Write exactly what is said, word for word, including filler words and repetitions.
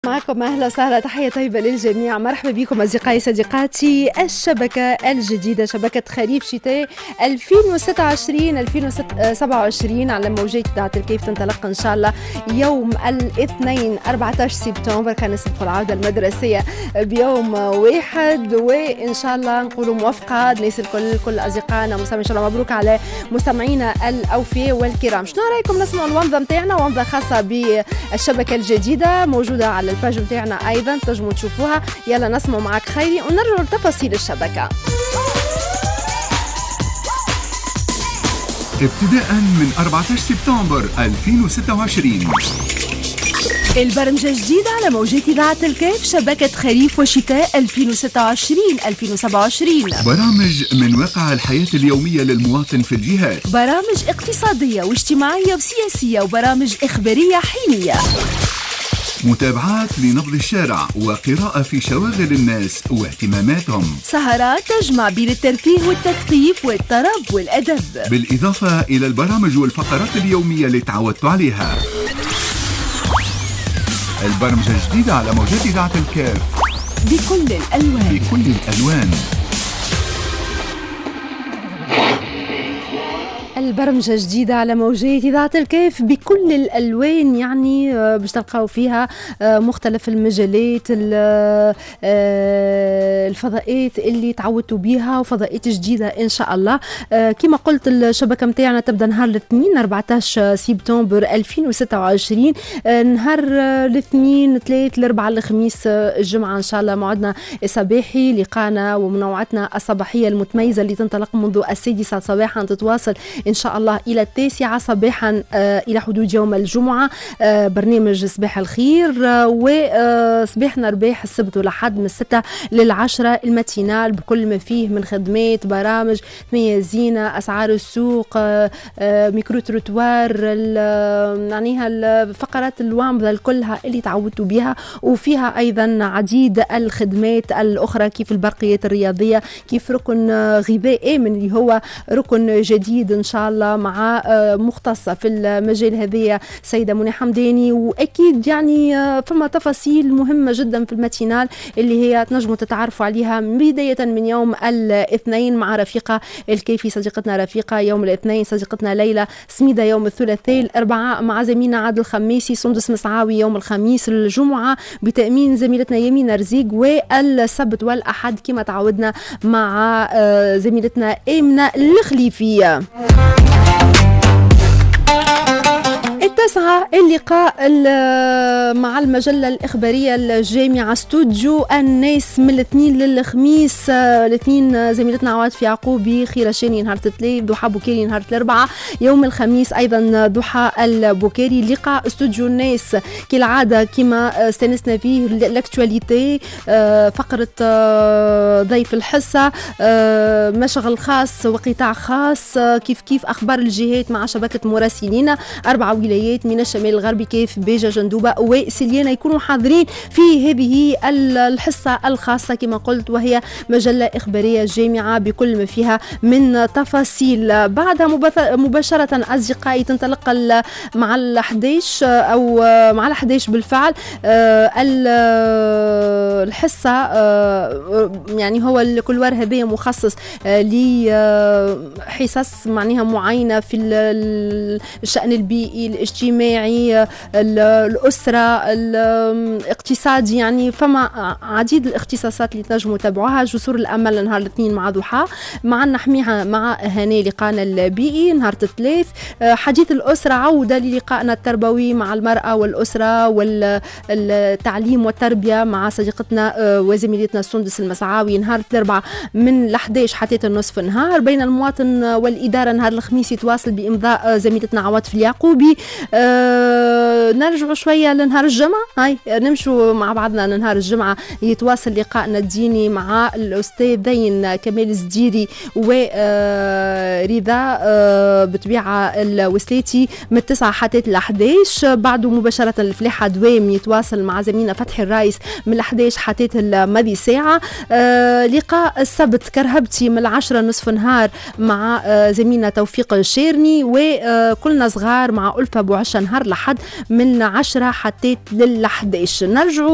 معكم أهلا وسهلا، تحية طيبة للجميع. مرحبا بكم أصدقائي صديقاتي. الشبكة الجديدة شبكة خريف شتاء ألفين وستة وعشرين ألفين وسبعة وعشرين على موجات إذاعة الكيف تنطلق إن شاء الله يوم الاثنين أربعة عشر سبتمبر. كان نسبق العودة المدرسية بيوم واحد، وإن شاء الله نقولوا موفقة الناس الكل، كل أصدقائنا مستمعين. إن شاء الله مبروك على مستمعينا الأوفياء والكرام. شنو رأيكم نسمعوا الومضة نتاعنا، ومضة خاصة بالشبكة الجديدة موجودة على ال page نتاعنا ايضا تنجموا تشوفوها. يلا نسمعوا معك خيري ونرجعوا لتفاصيل الشبكة. ابتداء من أربعة عشر سبتمبر ألفين وستة وعشرين البرمجة الجديدة على موجات إذاعة الكاف شبكة خريف وشتاء ألفين وستة وعشرين ألفين وسبعة وعشرين. برامج من واقع الحياة اليومية للمواطن في الجهات، برامج اقتصادية واجتماعية وسياسية، وبرامج إخبارية حينية، متابعات لنبض الشارع وقراءة في شواغل الناس واهتماماتهم، سهرات تجمع بين الترفيه والتثقيف والطرب والأدب، بالإضافة إلى البرامج والفقرات اليومية اللي تعودتوا عليها. البرمجة الجديدة على موجات إذاعة الكاف بكل الألوان، بكل الألوان. البرمجة جديدة على موجات إذاعة الكيف بكل الألوان، يعني باش تلقاو فيها مختلف المجالات، الفضاءات اللي تعودتوا بيها وفضاءات جديدة إن شاء الله. كما قلت الشبكة متاعنا تبدأ نهار الاثنين أربعة عشر سبتمبر ألفين وستة وعشرين، نهار الاثنين ثلاث الأربعاء الخميس الجمعة إن شاء الله موعدنا الصباحي، لقانا ومنوعتنا الصباحية المتميزة اللي تنطلق منذ السادسة صباحا تتواصل إن شاء الله إلى التاسعة صباحا إلى حدود يوم الجمعة. برنامج صباح الخير وصباحنا رباح السبت والأحد من الستة للعشرة ال matinale بكل ما فيه من خدمات، برامج ميزينة، أسعار السوق، micro-trottoir، يعني الفقرات الوامضة كلها اللي تعودتوا بها، وفيها أيضا عديد الخدمات الأخرى كيف البرقيات الرياضية، كيف ركن غذائي من اللي هو ركن جديد إن شاء الله مع مختصة في المجال هذه سيدة منى حمداني. وأكيد يعني فما تفاصيل مهمة جدا في ال matinale اللي هي تنجموا تتعرفوا عليها بداية من يوم الاثنين مع رفيقة الكيفي صديقتنا رفيقة يوم الاثنين، صديقتنا ليلى سميدة يوم الثلاثاء، الأربعاء مع زميلنا عادل الخميسي، سندس مسعاوي يوم الخميس، الجمعة بتأمين زميلتنا يمينة رزيق، والسبت والأحد كما تعودنا مع زميلتنا آمنة الخليفية. التاسعة اللقاء مع المجلة الإخبارية الجامعة استوديو الناس من الاثنين للخميس. الاثنين زميلتنا عواطف يعقوبي، خيرة شاني نهار الثلاث، ضحى بوكاري نهار الأربعاء، يوم الخميس أيضا ضحى البوكاري. لقاء استوديو الناس كالعادة كما استانسنا فيه l'actualité، فقرة ضيف الحصة، مشغل خاص وقطاع خاص، كيف كيف أخبار الجهات مع شبكة مراسلين، أربعة ولايات من الشمال الغربي كيف بيجا جندوبة وسليانة يكونوا حاضرين في هذه الحصة الخاصة كما قلت، وهي مجلة إخبارية جامعة بكل ما فيها من تفاصيل. بعدها مباشرة أصدقائي تنطلق مع الأحداش أو مع الأحداش بالفعل الحصة، يعني هو ال couloir هذا مخصص لحصص معناها معينة في الشأن البيئي الاجتماعي الأسرة الاقتصادي، يعني فما عديد الاختصاصات اللي تنجموا تتابعوها. جسور الأمل نهار الاثنين مع ضحى، مع نحميها مع هاني لقانا البيئي نهار الثلاث، حديث الأسرة عودة للقائنا التربوي مع المرأة والأسرة والتعليم والتربية مع صديقتنا وزميلتنا سندس المسعاوي نهار الأربعاء من الأحداش حتى النصف نهار. بين المواطن والإدارة نهار الخميس يتواصل بإمضاء زميلتنا عواطف اليعقوبي. أه نرجع شوية لنهار الجمعة، هاي نمشوا مع بعضنا لنهار الجمعة يتواصل لقائنا الديني مع الأستاذين كمال الزديري ورضا بطبيعة الوسلاتي من التسعة حتى الأحداش. بعده مباشرة الفلاحة دوام يتواصل مع زميلنا فتحي الرايس من الأحداش حتى الماضي ساعة. أه لقاء السبت كرهبتي من العشرة نصف نهار مع زميلنا توفيق الشيرني، وكلنا صغار مع ألفة بوعزة وعشا نهار لحد من عشرة حتى لل حداش. نرجعوا.